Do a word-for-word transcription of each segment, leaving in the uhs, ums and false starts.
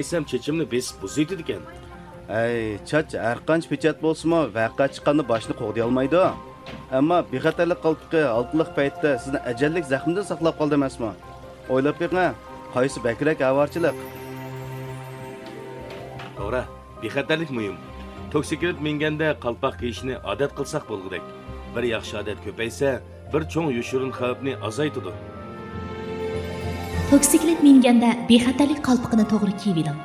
دېسەم، چېچىمنى بېسىپ بۇزۇۋېتىدىكەن. ھەي، چاچ ھەرقانچە پېچەت بولسىمۇ، ۋەقە چىققاندا باشنى قوغدىيالمايدۇ. ئەمما بىخەتەرلىك قالپىقى ھالقىلىق پەيتتە سىزنى ئەجەللىك زەخمىدىن ساقلاپ قالدى ئەمەسمۇ؟ ئويلاپ بېقىڭ، قايسى بەكرەك ئاۋارىچىلىق؟ توغرا، بىخەتەرلىك مۇھىم. توكسىكلىت مىنگەندە قالپاق كىيىشنى ئادەت قىلساق بولغۇدەك. بىر ياخشى ئادەت كۆپەيسە، بىر چوڭ يوشۇرۇن خەۋپنى ئازايتىدۇ. توكسىكلىت مىنگەندە بىخەتەرلىك قالپىقىنى توغرا كىيىۋېلىڭ.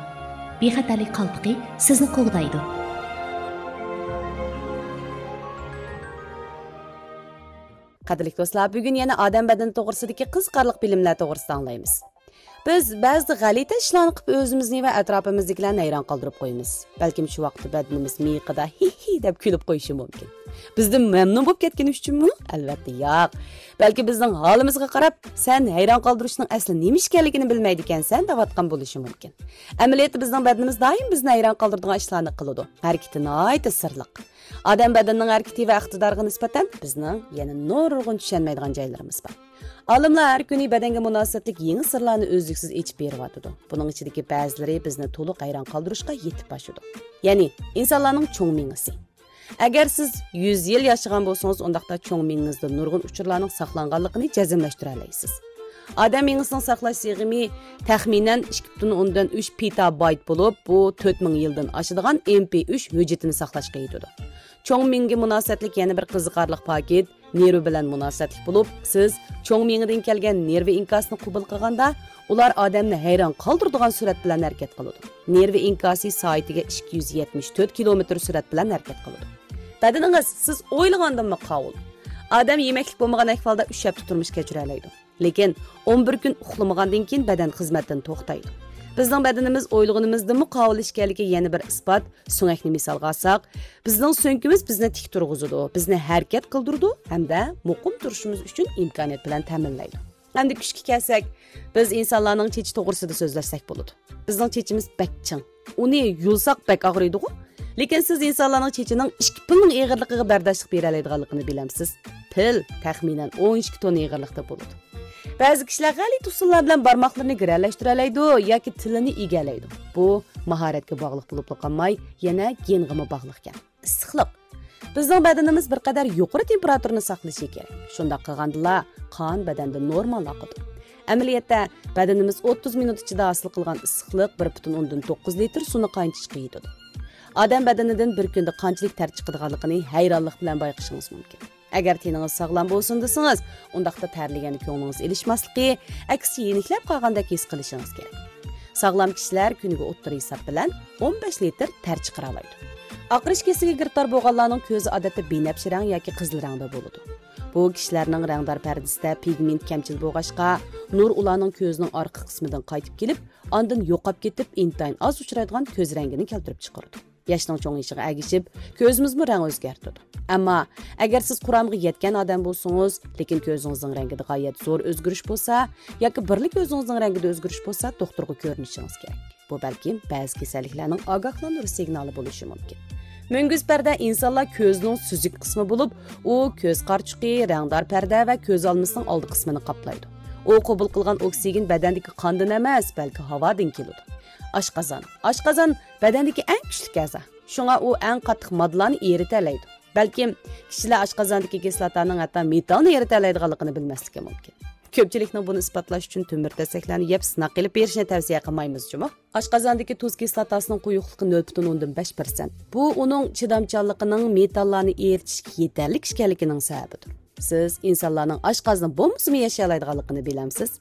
بىخەتەرلىك قالپىقى سىزنى قوغدايدۇ. قەدىرلىك دوستلار، بۈگۈن يەنە ئادەم بەدىنى توغرىسىدىكى قىزىقارلىق بىلىملەر توغرىسىدا ئاڭلايمىز. بىز بەزىدە غەلىتە ئىشلارنى قىلىپ ئۆزىمىزنى ۋە ئەتراپىمىزدىكىلەرنى ھەيران قالدۇرۇپ قويىمىز. بەلكىم شۇ ۋاقىتتا بەدىنىمىز مىيىقىدا ھىھ ھىھ دەپ كۈلۈپ قويۇشى مۇمكىن. بىزدىن مەمنۇن بولۇپ كەتكىنى ئۈچۈنمۇ؟ ئەلۋەتتە ياق. بەلكى بىزنىڭ ھالىمىزغا قاراپ، سەن ھەيران قالدۇرۇشنىڭ ئەسلى نېمە ئىكەنلىكىنى بىلمەيدىكەنسەن دەۋاتقان بولۇشى مۇمكىن. ئەمەلىيەتتە بىزنىڭ بەدىنىمىز دائىم بىزنى ھەيران قالدۇرىدىغان ئىشلارنى قىلىدۇ. ھەرىكىتى ناھايىتى سىرلىق. ئادەم بەدىنىنىڭ ھەرىكىتى ۋە ئىقتىدارىغا نىسبەتەن بىزنىڭ يەنە نۇرغۇن چۈشەنمەيدىغان جايلىرىمىز بار. ئالىملار ھەر كۈنى بەدەنگە مۇناسىۋەتلىك يېڭى سىرلارنى ئۈزلۈكسىز ئېچىپ بېرىۋاتىدۇ. بۇنىڭ ئىچىدىكى بەزىلىرى بىزنى تولۇق ھەيران قالدۇرۇشقا يېتىپ ئاشىدۇ. يەنى ئىنسانلارنىڭ چوڭ مېڭىسى. ئەگەر سىز يۈز يىل ياشىغان بولسىڭىز، ئۇنداقتا چوڭ مېڭىڭىزدە نۇرغۇن ئۇچۇرلارنىڭ ساقلانغانلىقىنى جەزملەشتۈرەلەيسىز. ئادەم مېڭىسىنىڭ ساقلاش سىغىمى تەخمىنەن ئىككى پۈتۈن ئوندىن ئۈچ پېتابايت بولۇپ، بۇ تۆت مىڭ يىلدىن ئاشىدىغان ئېم پى ئۈچ ھۆججىتىنى ساقلاشقا يېتىدۇ. چوڭ مېڭىگە مۇناسىۋەتلىك يەنە بىر قىزىقارلىق پاكىت نېرۋا بىلەن مۇناسىۋەتلىك بولۇپ، سىز چوڭ مېڭىدىن كەلگەن نېرۋا ئىنكاسىنى قوبۇل قىلغاندا، ئۇلار ئادەمنى ھەيران قالدۇرىدىغان سۈرئەت بىلەن ھەرىكەت قىلىدۇ. نېرۋا ئىنكاسى سائىتىگە ئىككى يۈز يەتمىش تۆت كىلومېتىر سۈرئەت بىلەن ھەرىكەت قىلىدۇ. بەدىنىڭىز سىز ئويلىغاندىنمۇ قاۋۇل. ئادەم يېمەكلىك بولمىغان ئەھۋالدا ئۈچ ھەپتە تۇرمۇش كەچۈرەلەيدۇ. لېكىن ئون بىر كۈن ئۇخلىمىغاندىن كېيىن بەدەن خىزمەتتىن توختايدۇ. بىزنىڭ بەدىنىمىز ئويلىغىنىمىزدىنمۇ قاۋۇل ئىكەنلىكىگە يەنە بىر ئىسپات. سۆڭەكنى مىسالغا ئالساق، بىزنىڭ سۆڭىكىمىز بىزنى تىك تۇرغۇزىدۇ، بىزنى ھەرىكەت قىلدۇرىدۇ ھەمدە مۇقىم تۇرۇشىمىز ئۈچۈن ئىمكانىيەت بىلەن تەمىنلەيدۇ. ئەمدى كۈچكە كەلسەك، بىز ئىنسانلارنىڭ چېچى توغرىسىدا سۆزلەشسەك بولىدۇ. بىزنىڭ چېچىمىز بەك چىڭ. ئۇنى يۇلساق بەك ئاغرىيدىغۇ؟ لېكىن سىز ئىنسانلارنىڭ چېچىنىڭ ئىككى پىلنىڭ ئېغىرلىقىغا بەرداشلىق بېرەلەيدىغانلىقىنى بىلەمسىز؟ پىل تەخمىنەن ئون ئىككى توننا ئېغىرلىقتا بولىدۇ. بەزى كىشىلەر غەلىتە ئۇسۇللار بىلەن بارماقلىرىنى گىرەلەشتۈرەلەيدۇ ياكى تىلىنى ئىگەلەيدۇ. بۇ ماھارەتكە باغلىق بولۇپلا قالماي، يەنە گېنغىمۇ باغلىقكەن. ئىسسىقلىق. بىزنىڭ بەدىنىمىز بىر قەدەر يۇقىرى تېمپېراتۇرىنى ساقلىشى كېرەك. شۇنداق قىلغاندىلا، قان بەدەندە نورمال ئاقىدۇ. ئەمەلىيەتتە، بەدىنىمىز ئوتتۇز مىنۇت ئىچىدە ھاسىل قىلغان ئىسسىقلىق بىر پۈتۈن ئوندىن توققۇز لىتىر سۇنى قاينىتىشقا يېتىدۇ. ئادەم بەدىنىدىن بىر كۈندە قانچىلىك تەر چىقىدىغانلىقىنى ھەيرانلىق بىلەن بايقىشىڭىز مۇمكىن. ئەگەر تېنىڭىز ساغلام بولسۇن دېسىڭىز، ئۇنداقتا تەرلىگەندە كۆڭلىڭىز ئېلىشماسلىقى، ئەكسىچە يېنىكلەپ قالغاندەك ھېس قىلىشىڭىز كېرەك. ساغلام كىشىلەر كۈنىگە ئوتتۇرا ھېساب بىلەن ئون بەش لىتىر تەر چىقىرالايدۇ. ئاقىرىش كېسىلىگە گىرىپتار بولغانلارنىڭ كۆزى ئادەتتە بىنەپشە رەڭ ياكى قىزىل رەڭدە بولىدۇ. بۇ كىشىلەرنىڭ رەڭدار پەردىسىدە پىگمېنت كەمچىل بولغاچقا، نۇر ئۇلارنىڭ كۆزىنىڭ ئارقا قىسمىدىن قايتىپ كېلىپ، ئاندىن يوقاپ كېتىپ، ئىنتايىن ئاز ئۇچرايدىغان كۆز رەڭگىنى كەلتۈرۈپ چىقىرىدۇ. ياشنىڭ چوڭىيىشىغا ئەگىشىپ، كۆزىمىزمۇ رەڭ ئۆزگەرتىدۇ. ئەمما ئەگەر سىز قۇرامىغا يەتكەن ئادەم بولسىڭىز، لېكىن كۆزىڭىزنىڭ رەڭگىدە غايەت زور ئۆزگىرىش بولسا ياكى بىرلا كۆزىڭىزنىڭ رەڭگىدە ئۆزگىرىش بولسا، دوختۇرغا كۆرۈنۈشىڭىز كېرەك. بۇ بەلكىم بەزى كېسەللىكلەرنىڭ ئاگاھلاندۇرۇش سىگنالى بولۇشى مۇمكىن. مۈڭگۈز پەردە ئىنسانلار كۆزىنىڭ سۈزۈك قىسمى بولۇپ، ئۇ كۆز قارىچۇقى، رەڭدار پەردە ۋە كۆز ئالمىسىنىڭ ئالدى قىسمىنى قاپلايدۇ. ئۇ قوبۇل قىلغان ئوكسىگېن بەدەندىكى قاندىن ئەمەس، بەلكى ھاۋادىن كېلىدۇ. ئاشقازان. ئاشقازان بەدەندىكى ئەڭ كۈچلۈك ئەزا. شۇڭا ئۇ ئەڭ قاتتىق ماددىلارنى ئېرىتەلەيدۇ. بەلكىم كىشىلەر ئاشقازاندىكى كىسلاتانىڭ ھەتتا مېتالنى ئېرىتەلەيدىغانلىقىنى بىلمەسلىكى مۇمكىن. كۆپچىلىكنىڭ بۇنى ئىسپاتلاش ئۈچۈن تۆمۈر تەسەكلەرنى يەپ سىناق قىلىپ بېرىشنى تەۋسىيە قىلمايمىز جۇمۇ. ئاشقازاندىكى تۇز كىسلاتاسىنىڭ قويۇقلۇقى نۆل پۈتۈن ئوندىن بەش پىرسەنت. بۇ ئۇنىڭ چىدامچانلىقىنىڭ مېتاللارنى ئېرىتىشكە يېتەرلىك ئىكەنلىكىنىڭ سەۋەبىدۇر. سىز ئىنسانلارنىڭ ئاشقازىنى بولمىسىمۇ ياشىيالايدىغانلىقىنى بىلەمسىز؟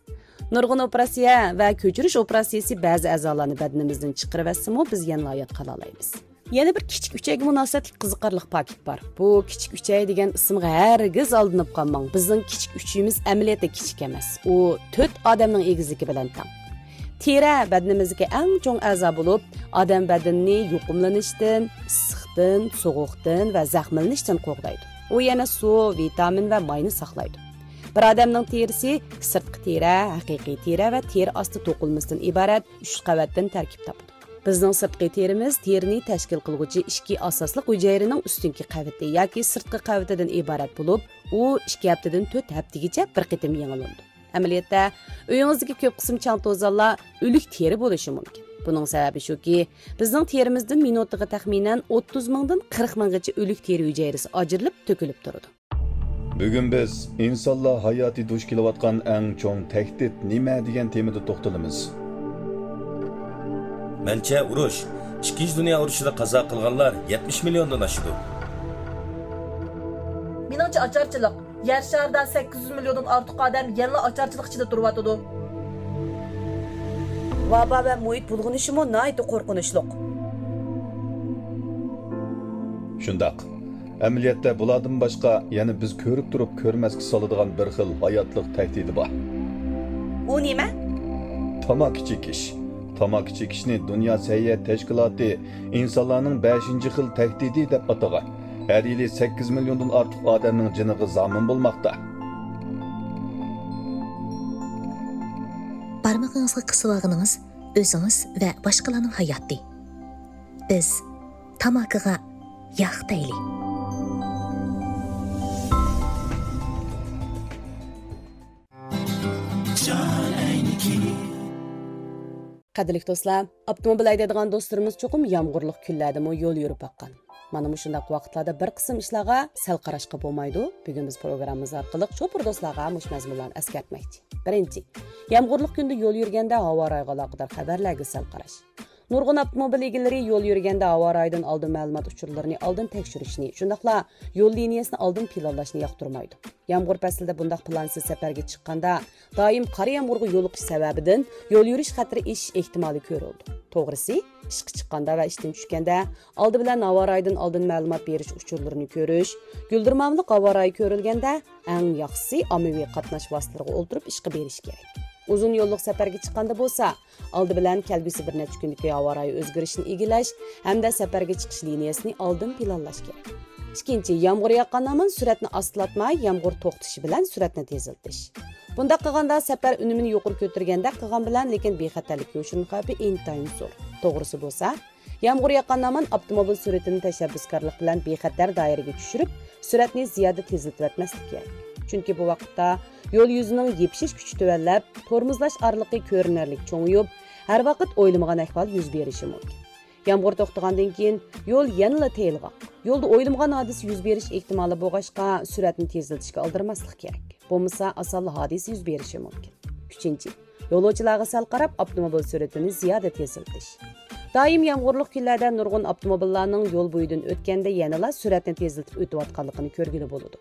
نۇرغۇن ئوپېراتسىيە ۋە كۆچۈرۈش ئوپېراتسىيىسى بەزى ئەزالارنى بەدىنىمىزدىن چىقىرىۋەتسىمۇ، بىز يەنىلا ھايات قالالايمىز. يەنە بىر كىچىك ئۈچەيگە مۇناسىۋەتلىك قىزىقارلىق پاكىت بار. بۇ كىچىك ئۈچەي دېگەن ئىسىمغا ھەرگىز ئالدىنىپ قالماڭ. بىزنىڭ كىچىك ئۈچىيىمىز ئەمەلىيەتتە كىچىك ئەمەس. ئۇ تۆت ئادەمنىڭ ئېگىزلىكى بىلەن تەڭ. تېرە بەدىنىمىزدىكى ئەڭ چوڭ ئەزا بولۇپ، ئادەم بەدىنىنى يۇقۇملىنىشتىن، ئىسسىقتىن، سوغۇقتىن ۋە زەخىملىنىشتىن قوغدايدۇ. ئۇ يەنە سۇ، ۋىتامىن ۋە ماينى ساقلايدۇ. بىر ئادەمنىڭ تېرىسى سىرتقى تېرە، ھەقىقىي تېرە ۋە تېرە ئاستى توقۇلمىسىدىن ئىبارەت ئۈچ قەۋەتتىن تەركىب تاپىدۇ. بىزنىڭ سىرتقى تېرىمىز تېرىنى تەشكىل قىلغۇچى ئىككى ئاساسلىق ھۈجەيرىنىڭ ئۈستۈنكى قەۋىتى ياكى سىرتقى قەۋىتىدىن ئىبارەت بولۇپ، ئۇ ئىككى ھەپتىدىن تۆت ھەپتىگىچە بىر قېتىم يېڭىلىنىدۇ. ئەمەلىيەتتە، ئۆيىڭىزدىكى كۆپ قىسىم چاڭ-توزانلار ئۆلۈك تېرە بولۇشى مۇمكىن. بۇنىڭ سەۋەبى شۇكى، بىزنىڭ تېرىمىزدىن مىنۇتىغا تەخمىنەن ئوتتۇز مىڭدىن قىرىق مىڭغىچە ئۆلۈك تېرە ھۈجەيرىسى ئاجرىلىپ تۆكۈلۈپ تۇرىدۇ. بۈگۈن بىز ئىنسانلار ھاياتى دۇچ كېلىۋاتقان ئەڭ چوڭ تەھدىت نېمە دېگەن تېمىدا توختىلىمىز. مەنچە، ئۇرۇش، ئىككىنچى دۇنيا ئۇرۇشىدا قازا قىلغانلار يەتمىش مىليوندىن ئاشىدۇ. مېنىڭچە، ئاچارچىلىق. يەر شارىدا سەككىز يۈز مىليوندىن ئارتۇق ئادەم يەنىلا ئاچارچىلىق ئىچىدە تۇرۇۋاتىدۇ. ۋابا ۋە مۇھىت بۇلغىنىشىمۇ ناھايىتى قورقۇنچلۇق. شۇنداق. ئەمەلىيەتتە بۇلاردىن باشقا يەنە بىز كۆرۈپ تۇرۇپ كۆرمەسكە سالىدىغان بىر خىل ھاياتلىق تەھدىتى بار. ئۇ نېمە؟ تاماكا چېكىش. تاماكا چېكىشنى دۇنيا سەھىيە تەشكىلاتى ئىنسانلارنىڭ بەشىنچى خىل تەھدىتى دەپ ئاتىغان. ھەر يىلى سەككىز مىليوندىن ئارتۇق ئادەمنىڭ جېنىغا زامىن بولماقتا. بارمىقىڭىزغا قىسىۋالغىنىڭىز ئۆزىڭىز ۋە باشقىلارنىڭ ھاياتى. بىز تاماكىغا ياق دەيلى. قەدىرلىك دوستلار، ئاپتوموبىل ھەيدەيدىغان دوستلىرىمىز چوقۇم يامغۇرلۇق كۈنلەردىمۇ يول يۈرۈپ باققان. مانا مۇشۇنداق ۋاقىتلاردا بىر قىسىم ئىشلارغا سەل قاراشقا بولمايدۇ. بۈگۈن بىز پروگراممىمىز ئارقىلىق شوپۇر دوستلارغا مۇشۇ مەزمۇنلارنى ئەسكەرتمەكچى. بىرىنچى، يامغۇرلۇق كۈندە يول يۈرگەندە ھاۋا رايىغا ئالاقىدار خەۋەرلەرگە سەل قاراش. نۇرغۇن ئاپتوموبىل ئىگىلىرى يول يۈرگەندە ھاۋا رايىدىن ئالدىن مەلۇمات ئۇچۇرلىرىنى ئالدىن تەكشۈرۈشنى، شۇنداقلا يول لىنىيەسىنى ئالدىن پىلانلاشنى ياقتۇرمايدۇ. يامغۇر پەسلىدە بۇنداق پىلانسىز سەپەرگە چىققاندا، دائىم قارا يامغۇرغا يولۇقۇش سەۋەبىدىن يول يۈرۈش خەتىرى ئېشىش ئېھتىمالى كۆرۈلىدۇ. توغرىسى، ئىشقا چىققاندا ۋە ئىشتىن چۈشكەندە، ئالدى بىلەن ھاۋا رايىدىن ئالدىن مەلۇمات بېرىش ئۇچۇرلىرىنى كۆرۈش، گۈلدۈرمامىلىق ھاۋا رايى كۆرۈلگەندە، ئەڭ ياخشىسى ئاممىۋى قاتناش ۋاسىتىلىرىغا ئولتۇرۇپ ئىشقا بېرىش كېرەك. ئۇزۇن يوللۇق سەپەرگە چىققاندا بولسا، ئالدى بىلەن كەلگۈسى بىر نەچچە كۈندىكى ھاۋا رايى ئۆزگىرىشىنى ئىگىلەش ھەمدە سەپەرگە چىقىش لىنىيەسىنى ئالدىن پىلانلاش كېرەك. ئىككىنچى، يامغۇر ياغقان ھامان سۈرئەتنى ئاستىلاتماي، يامغۇر توختىشى بىلەن سۈرئەتنى تېزلىتىش. بۇنداق قىلغاندا سەپەر ئۈنۈمىنى يۇقىرى كۆتۈرگەندەك قىلغان بىلەن، لېكىن بىخەتەرلىككە يوشۇرۇن خەۋپى ئىنتايىن زور. توغرىسى بولسا، يامغۇر ياغقان ھامان ئاپتوموبىل سۈرئىتىنى تەشەببۇسكارلىق بىلەن بىخەتەر دائىرىگە چۈشۈرۈپ، سۈرئەتنى زىيادە تېزلىتىۋەتمەسلىك كېرەك. چۈنكى بۇ ۋاقىتتا يول يۈزىنىڭ يېپىشىش كۈچى تۆۋەنلەپ، تورمۇزلاش ئارىلىقى كۆرۈنەرلىك چوڭىيىپ، ھەر ۋاقىت ئويلىمىغان ئەھۋال يۈز بېرىشى مۇمكىن. يامغۇر توختىغاندىن كېيىن يول يەنىلا تېيىلغان. يولدا ئويلىمىغان ھادىسە يۈز بېرىش ئېھتىمالى بولغاچقا، سۈرئەتنى تېزلىتىشكە ئالدىرىماسلىق كېرەك. بولمىسا، ئاسانلا ھادىسە يۈز بېرىشى مۇمكىن. ئۈچىنچى، يولۇچىلارغا سەل قاراپ، ئاپتوموبىل سۈرئىتىنى زىيادە تېزلىتىش. دائىم يامغۇرلۇق كۈنلەردە نۇرغۇن ئاپتوموبىللارنىڭ يول بويىدىن ئۆتكەندە يەنىلا سۈرئەتنى تېزلىتىپ ئۆتۈۋاتقانلىقىنى كۆرگىلى بولىدۇ.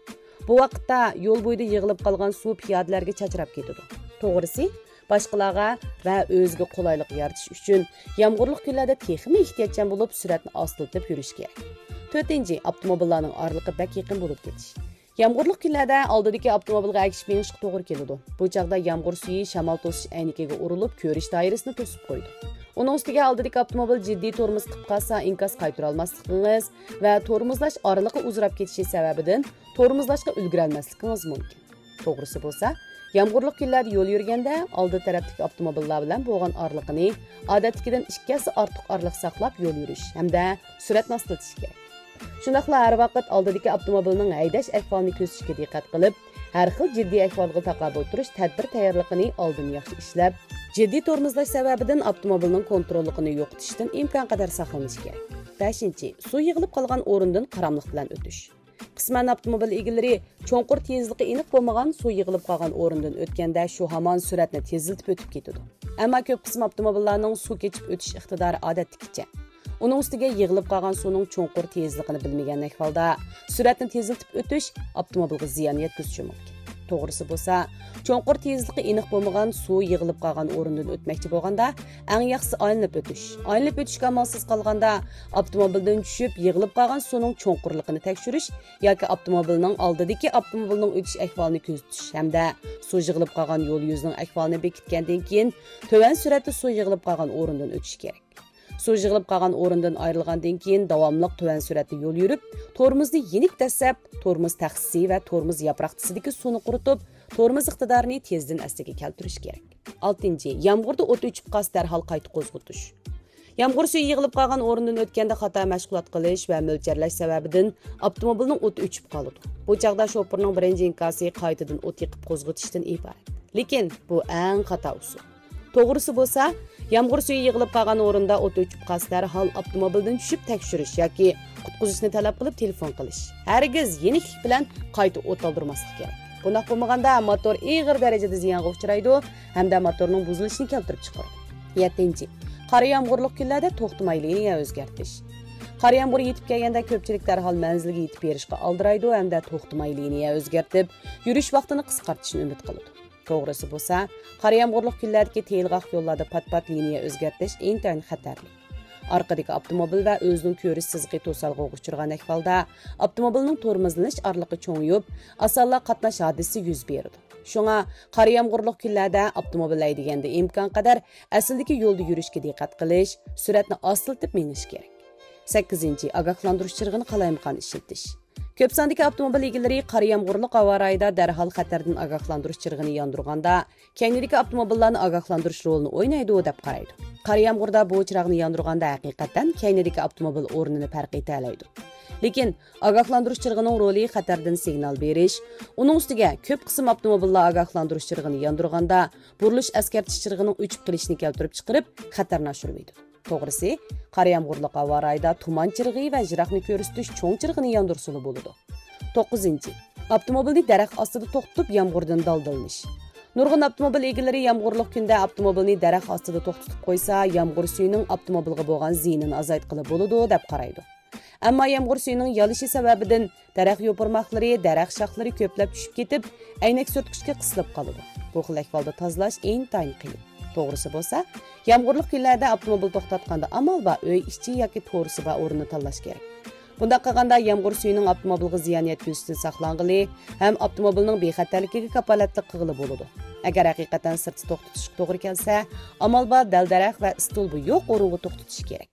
بۇ ۋاقىتتا يول بويىدا يىغىلىپ قالغان سۇ پىيادىلەرگە چاچراپ كېتىدۇ. توغرىسى، باشقىلارغا ۋە ئۆزىگە قولايلىق يارىتىش ئۈچۈن يامغۇرلۇق كۈنلەردە تېخىمۇ ئېھتىياتچان بولۇپ، سۈرئەتنى ئاستىلىتىپ يۈرۈش كېرەك. تۆتىنچى، ئاپتوموبىللارنىڭ ئارىلىقى بەك يېقىن بولۇپ كېتىش. يامغۇرلۇق كۈنلەردە ئالدىدىكى ئاپتوموبىلغا ئەگىشىپ مېڭىشقا توغرا كېلىدۇ. بۇ چاغدا يامغۇر سۈيى شامال توسۇش ئەينىكىگە ئۇرۇلۇپ، كۆرۈش دائىرىسىنى توسۇپ قويىدۇ. ئۇنىڭ ئۈستىگە ئالدىدىكى ئاپتوموبىل جىددىي تورمۇز قىلىپ قالسا، ئىنكاس قايتۇرالماسلىقىڭىز ۋە تورمۇزلاش ئارىلىقى ئۇزىراپ كېتىشى سەۋەبىدىن تورمۇزلاشقا ئۈلگۈرەلمەسلىكىڭىز مۇمكىن. توغرىسى بولسا، يامغۇرلۇق كۈنلەردە يول يۈرگەندە، ئالدى تەرەپتىكى ئاپتوموبىللار بىلەن بولغان ئارىلىقىنى ئادەتتىكىدىن ئىككى ھەسسە ئارتۇق ئارىلىق ساقلاپ يول يۈرۈش ھەمدە سۈرئەتنى ئاستىلىتىش كېرەك. شۇنداقلا ھەر ۋاقىت ئالدىدىكى ئاپتوموبىلنىڭ ھەيدەش ئەھۋالىنى كۆزىتىشكە دىققەت قىلىپ، ھەر خىل جىددىي ئەھۋالغا تاقابىل تۇرۇش تەدبىر تەييارلىقىنى ئالدىن ياخشى ئىشلەپ، جىددىي تورمۇزلاش سەۋەبىدىن ئاپتوموبىلنىڭ كونتروللۇقىنى يوقىتىشتىن ئىمكانقەدەر ساقلىنىش كېرەك. بەشىنچى، سۇ يىغىلىپ قالغان ئورۇندىن قاراملىق بىلەن ئۆتۈش. قىسمەن ئاپتوموبىل ئىگىلىرى چوڭقۇر تېزلىقى ئېنىق بولمىغان سۇ يىغىلىپ قالغان ئورۇندىن ئۆتكەندە شۇ ھامان سۈرئەتنى تېزلىتىپ ئۆتۈپ كېتىدۇ. ئەمما كۆپ قىسىم ئاپتوموبىللارنىڭ سۇ كېچىپ ئۆتۈش ئىقتىدارى ئادەتتىكىچە. ئۇنىڭ ئۈستىگە يىغىلىپ قالغان سۇنىڭ چوڭقۇر تېزلىقىنى بىلمىگەن ئەھۋالدا سۈرئەتنى تېزلىتىپ ئۆتۈش ئاپتوموبىلغا زىيان يەتكۈزۈشى مۇمكىن. توغرىسى بولسا، چوڭقۇر تېزلىقى ئېنىق بولمىغان سۇ يىغىلىپ قالغان ئورۇندىن ئۆتمەكچى بولغاندا، ئەڭ ياخشىسى ئايلىنىپ ئۆتۈش. ئايلىنىپ ئۆتۈشكە ئامالسىز قالغاندا، ئاپتوموبىلدىن چۈشۈپ، يىغىلىپ قالغان سۇنىڭ چوڭقۇرلۇقىنى تەكشۈرۈش ياكى ئاپتوموبىلنىڭ ئالدىدىكى ئاپتوموبىلنىڭ ئۆتۈش ئەھۋالىنى كۆزىتىش ھەمدە سۇ يىغىلىپ قالغان يول يۈزىنىڭ ئەھۋالىنى بېكىتكەندىن كېيىن، تۆۋەن سۈرئەتتە سۇ يىغىلىپ قالغان ئورۇندىن ئۆتۈش كېرەك. سۇ يىغىلىپ قالغان ئورۇندىن ئايرىلغاندىن كېيىن، داۋاملىق تۆۋەن سۈرئەتتە يول يۈرۈپ، تورمۇزنى يېنىك دەسسەپ، تورمۇز تەخسىسى ۋە تورمۇز ياپراقچىسىدىكى سۇنى قۇرۇتۇپ، تورمۇز ئىقتىدارىنى تېزدىن ئەسلىگە كەلتۈرۈش كېرەك. ئالتىنچى، يامغۇردا ئوت ئۆچۈپ قالسا، دەرھال قايتا قوزغىتىش. يامغۇر سۈيى يىغىلىپ قالغان ئورۇندىن ئۆتكەندە خاتا مەشغۇلات قىلىش ۋە مۆلچەرلەش سەۋەبىدىن ئاپتوموبىلنىڭ ئوتى ئۆچۈپ قالىدۇ. بۇ چاغدا شوپۇرنىڭ بىرىنچى ئىنكاسى قايتىدىن ئوت يېقىپ قوزغىتىشتىن ئىبارەت. لېكىن بۇ ئەڭ خاتا ئۇسۇل. توغرىسى بولسا، يامغۇر سۈيى يىغىلىپ قالغان ئورۇندا ئوت ئۆچۈپ قالسا، دەرھال ئاپتوموبىلدىن چۈشۈپ تەكشۈرۈش ياكى قۇتقۇزۇشنى تەلەپ قىلىپ تېلېفون قىلىش. ھەرگىز يېنىكلىك بىلەن قايتا ئوت ئالدۇرماسلىق كېرەك. بۇنداق بولمىغاندا، موتور ئېغىر دەرىجىدە زىيانغا ئۇچرايدۇ ھەمدە موتورنىڭ بۇزۇلۇشىنى كەلتۈرۈپ چىقىرىدۇ. يەتتىنچى، قارا يامغۇرلۇق كۈنلەردە توختىماي لىنىيە ئۆزگەرتىش. قارا يامغۇر يېتىپ كەلگەندە، كۆپچىلىك دەرھال مەنزىلگە يېتىپ بېرىشقا ئالدىرايدۇ ھەمدە توختىماي لىنىيە ئۆزگەرتىپ، يۈرۈش ۋاقتىنى قىسقارتىشنى ئۈمىد قىلىدۇ. توغرىسى بولسا، قارا يامغۇرلۇق كۈنلەردىكى تېيىلغاق يوللاردا پات-پات لىنىيە ئۆزگەرتىش ئىنتايىن خەتەرلىك. ئارقىدىكى ئاپتوموبىل ۋە ئۆزىنىڭ كۆرۈش سىزىقى توسالغۇغا ئۇچرىغان ئەھۋالدا، ئاپتوموبىلنىڭ تورمۇزلىنىش ئارىلىقى چوڭىيىپ، ئاسانلا قاتناش ھادىسىسى يۈز بېرىدۇ. شۇڭا، قارا يامغۇرلۇق كۈنلەردە ئاپتوموبىل ھەيدىگەندە ئىمكان قەدەر ئەسلىدىكى يولدا يۈرۈشكە دىققەت قىلىش، سۈرئەتنى ئاستىلىتىپ مېڭىش كېرەك. سەككىزىنچى، ئاگاھلاندۇرۇش چىرىغىنى قالايمىقان ئىشلىتىش. كۆپ ساندىكى ئاپتوموبىل ئىگىلىرى قارا يامغۇرلۇق ھاۋا رايىدا دەرھال خەتەردىن ئاگاھلاندۇرۇش چىرىغىنى ياندۇرغاندا، كەينىدىكى ئاپتوموبىللارنى ئاگاھلاندۇرۇش رولىنى ئوينايدۇ دەپ قارايدۇ. قارا يامغۇردا بۇ چىراغنى ياندۇرغاندا، ھەقىقەتەن كەينىدىكى ئاپتوموبىل ئورنىنى پەرق ئېتەلەيدۇ. لېكىن ئاگاھلاندۇرۇش چىرىغىنىڭ رولى خەتەردىن سىگنال بېرىش، ئۇنىڭ ئۈستىگە كۆپ قىسىم ئاپتوموبىللار ئاگاھلاندۇرۇش چىرىغىنى ياندۇرغاندا، بۇرۇلۇش ئەسكەرتىش چىرىغىنىڭ ئۆچۈپ قېلىشىنى كەلتۈرۈپ چىقىرىپ، خەتەرنى ئاشۇرۇۋېتىدۇ. توغرىسى، قارا يامغۇرلۇق ھاۋا رايىدا تۇمان چىرىغى ۋە يىراقنى كۆرسىتىش چوڭ چىرىغىنى ياندۇرسىلا بولىدۇ. توققۇزىنچى، ئاپتوموبىلنى دەرەخ ئاستىدا توختىتىپ، يامغۇردىن دالدىلىنىش. نۇرغۇن ئاپتوموبىل ئىگىلىرى يامغۇرلۇق كۈندە ئاپتوموبىلنى دەرەخ ئاستىدا توختىتىپ قويسا، يامغۇر سۈيىنىڭ ئاپتوموبىلغا بولغان زىيىنىنى ئازايتقىلى بولىدۇ، دەپ قارايدۇ. ئەمما يامغۇر سۈيىنىڭ يالىشى سەۋەبىدىن دەرەخ يوپۇرماقلىرى، دەرەخ شاخلىرى كۆپلەپ چۈشۈپ كېتىپ، ئەينەك سۈرتكۈچكە قىسىلىپ قالىدۇ. بۇ خىل ئەھۋالدا تازىلاش ئىنتايىن قىيىن. توغرىسى بولسا، يامغۇرلۇق كۈنلەردە ئاپتوموبىل توختاتقاندا ئامال بار ئۆي ئىچى ياكى تورۇسى بار ئورۇننى تاللاش كېرەك. بۇنداق قىلغاندا يامغۇر سۈيىنىڭ ئاپتوموبىلغا زىيان يەتكۈزۈشىدىن ساقلانغىلى ھەم ئاپتوموبىلنىڭ بىخەتەرلىكىگە كاپالەتلىك قىلغىلى بولىدۇ. ئەگەر ھەقىقەتەن سىرتتا توختىتىشقا توغرا كەلسە، ئامال بار دەل-دەرەخ ۋە ئىستولبا يوق ئورۇنغا توختىتىش كېرەك.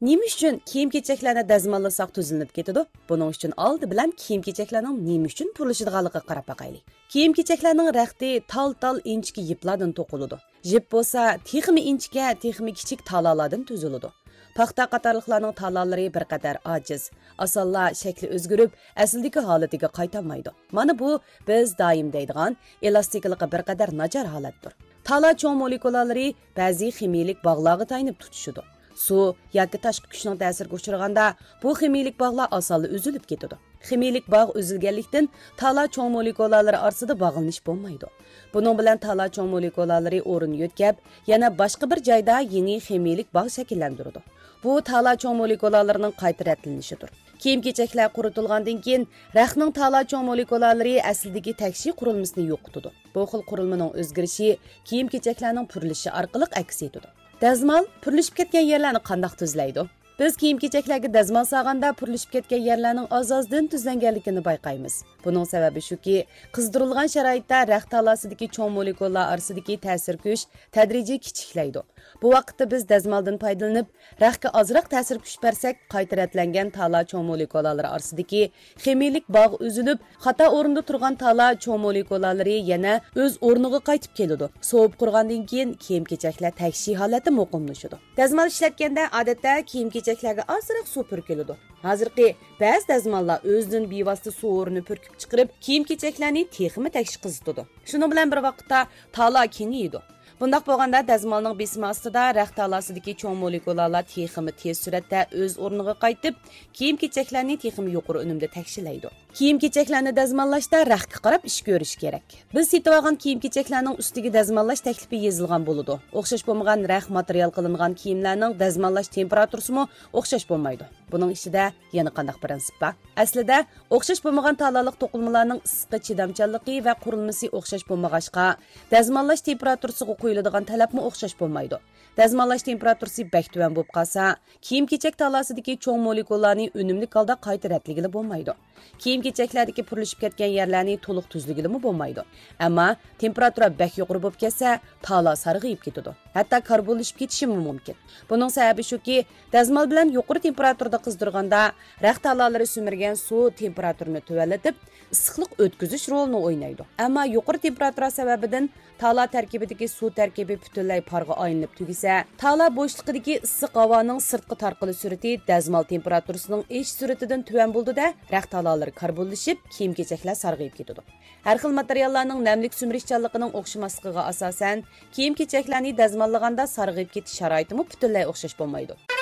نېمە ئۈچۈن كىيىم-كېچەكلەرنى دەزماللىساق تۈزلىنىپ كېتىدۇ؟ بۇنىڭ ئۈچۈن ئالدى بىلەن كىيىم-كېچەكلەرنىڭ نېمە ئۈچۈن پۈرلىشىدىغانلىقىغا قاراپ باقايلى. كىيىم-كېچەكلەرنىڭ رەختى تال-تال ئىنچىكە يىپلاردىن توقۇلىدۇ. يىپ بولسا تېخىمۇ ئىنچىكە، تېخىمۇ كىچىك تالالاردىن تۈزۈلىدۇ. پاختا قاتارلىقلارنىڭ تالالىرى بىر قەدەر ئاجىز، ئاسانلا شەكلى ئۆزگىرىپ، ئەسلىدىكى ھالىتىگە قايتالمايدۇ. مانا بۇ بىز دائىم دەيدىغان ئېلاستىكىلىقى بىر قەدەر ناچار ھالەتتۇر. تالا چوڭ مولېكۇلالىرى بەزى خىمىيىلىك باغلارغا تايىنىپ تۇتىشىدۇ. سۇ ياكى تاشقى كۈچنىڭ تەسىرىگە ئۇچرىغاندا، بۇ خىمىيىلىك باغلار ئاسانلا ئۈزۈلۈپ كېتىدۇ. خىمىيىلىك باغ ئۈزۈلگەنلىكتىن، تالا چوڭ مولېكۇلالىرى ئارىسىدا باغلىنىش بولمايدۇ. بۇنىڭ بىلەن تالا چوڭ مولېكۇلالىرى ئورۇن يۆتكەپ، يەنە باشقا بىر جايدا يېڭى خىمىيىلىك باغ شەكىللەندۈرىدۇ. بۇ تالا چوڭ مولېكۇلالىرىنىڭ قايتا رەتلىنىشىدۇر. كىيىم-كېچەكلەر قۇرۇتۇلغاندىن كېيىن، رەختنىڭ تالا چوڭ مولېكۇلالىرى ئەسلىدىكى تەكشى قۇرۇلمىسىنى يوقىتىدۇ. بۇ خىل قۇرۇلمىنىڭ ئۆزگىرىشى كىيىم-كېچەكلەرنىڭ پۈرلىشى ئارقىلىق ئەكس ئېتىدۇ. دەزمال پۈرلىشىپ كەتكەن يەرلەرنى قانداق تۈزلەيدۇ؟ بىز كىيىم-كېچەكلەرگە دەزمال سالغاندا، پۈرلىشىپ كەتكەن يەرلەرنىڭ ئاز-ئازدىن تۈزلەنگەنلىكىنى بايقايمىز. بۇنىڭ سەۋەبى شۇكى، قىزدۇرۇلغان شارائىتتا رەخت تالاسىدىكى چوڭ مولېكۇللار ئارىسىدىكى تەسىر كۈچ تەدرىجىي كىچىكلەيدۇ. بۇ ۋاقىتتا بىز دەزمالدىن پايدىلىنىپ، رەختكە ئازراق تەسىر كۈچ بەرسەك، قايتا رەتلەنگەن تالا چوڭ مولېكۇلالىرى ئارىسىدىكى خىمىيىلىك باغ ئۈزۈلۈپ، خاتا ئورۇندا تۇرغان تالا چوڭ مولېكۇلالىرى يەنە ئۆز ئورنىغا قايتىپ كېلىدۇ. سوۋۇپ قۇرۇغاندىن كېيىن، كىيىم-كېچەكلەر تەكشى ھالەتتە مۇقىملىشىدۇ. دەزمال ئىشلەتكەندە، ئادەتتە كىيىم-كېچەكلەرگە ئازراق سۇ پۈركىلىدۇ. ھازىرقى بەزى دەزماللار ئۆزىدىن بىۋاسىتە سۇ ھورىنى پۈركۈپ چىقىرىپ، كىيىم-كېچەكلەرنى تېخىمۇ تەكشى قىزىتىدۇ. شۇنىڭ بىلەن بىر ۋاقىتتا، تالا كېڭىيىدۇ. بۇنداق بولغاندا، دەزمالنىڭ بېسىمى ئاستىدا رەخت تالاسىدىكى چوڭ مولېكۇلالار تېخىمۇ تېز سۈرئەتتە ئۆز ئورنىغا قايتىپ، كىيىم-كېچەكلەرنى تېخىمۇ يۇقىرى ئۈنۈمدە تەكشىلەيدۇ. كىيىم-كېچەكلەرنى دەزماللاشتا رەختكە قاراپ ئىش كۆرۈش كېرەك. بىز سېتىۋالغان كىيىم-كېچەكلەرنىڭ ئۈستىگە دەزماللاش تەكلىپى يېزىلغان بولىدۇ. ئوخشاش بولمىغان رەخت ماتېرىيال قىلىنغان كىيىملەرنىڭ دەزماللاش تېمپېراتۇرىسىمۇ ئوخشاش بولمايدۇ. بۇنىڭ ئىچىدە يەنە قانداق پىرىنسىپ بار؟ ئەسلىدە، ئوخشاش بولمىغان تالالىق توقۇلمىلارنىڭ ئىسسىققا چىدامچانلىقى ۋە قۇرۇلمىسى ئوخشاش بولمىغاچقا، دەزماللاش تېمپېراتۇرىسىغا قويۇلىدىغان تەلەپمۇ ئوخشاش بولمايدۇ. دەزماللاش تېمپېراتۇرىسى بەك تۆۋەن بولۇپ قالسا، كىيىم-كېچەك تالاسىدىكى چوڭ مولېكۇللارنى ئۈنۈملۈك ھالدا قايتا رەتلىگىلى بولمايدۇ. كىيىم-كېچەكلەردىكى پۈرلىشىپ كەتكەن يەرلەرنى تولۇق تۈزلىگىلىمۇ بولمايدۇ. ئەمما تېمپېراتۇرا بەك يۇقىرى بولۇپ كەتسە، تالا سارغىيىپ كېتىدۇ. ھەتتا كاربونلىشىپ كېتىشىمۇ مۇمكىن. بۇنىڭ سەۋەبى شۇكى، دەزمال بىلەن يۇقىرى تېمپېراتۇرىدا قىزدۇرغاندا، رەخت تالالىرى سۈمۈرگەن سۇ تېمپېراتۇرىنى تۆۋەنلىتىپ، ئىسسىقلىق ئۆتكۈزۈش رولىنى ئوينايدۇ. ئەمما يۇقىرى تېمپېراتۇرا سەۋەبىدىن تالا تەركىبىدىكى سۇ تەركىبى پۈتۈنلەي پارغا ئايلىنىپ تۈگىسە، تالا بوشلۇقىدىكى ئىسسىق ھاۋانىڭ سىرتقا تارقىلىش سۈرئىتى دەزمال تېمپېراتۇرىسىنىڭ ئېشىش سۈرئىتىدىن تۆۋەن بولىدۇ-دە، رەخت تالالىرى بۇلىشىپ، كىيىم-كېچەكلەر سارغىيىپ كېتىدۇ. ھەر خىل ماتېرىياللارنىڭ نەملىك سۈمۈرۈشچانلىقىنىڭ ئوخشىماسلىقىغا ئاساسەن، كىيىم-كېچەكلەرنى دەزماللىغاندا سارغىيىپ كېتىش شارائىتىمۇ پۈتۈنلەي ئوخشاش بولمايدۇ.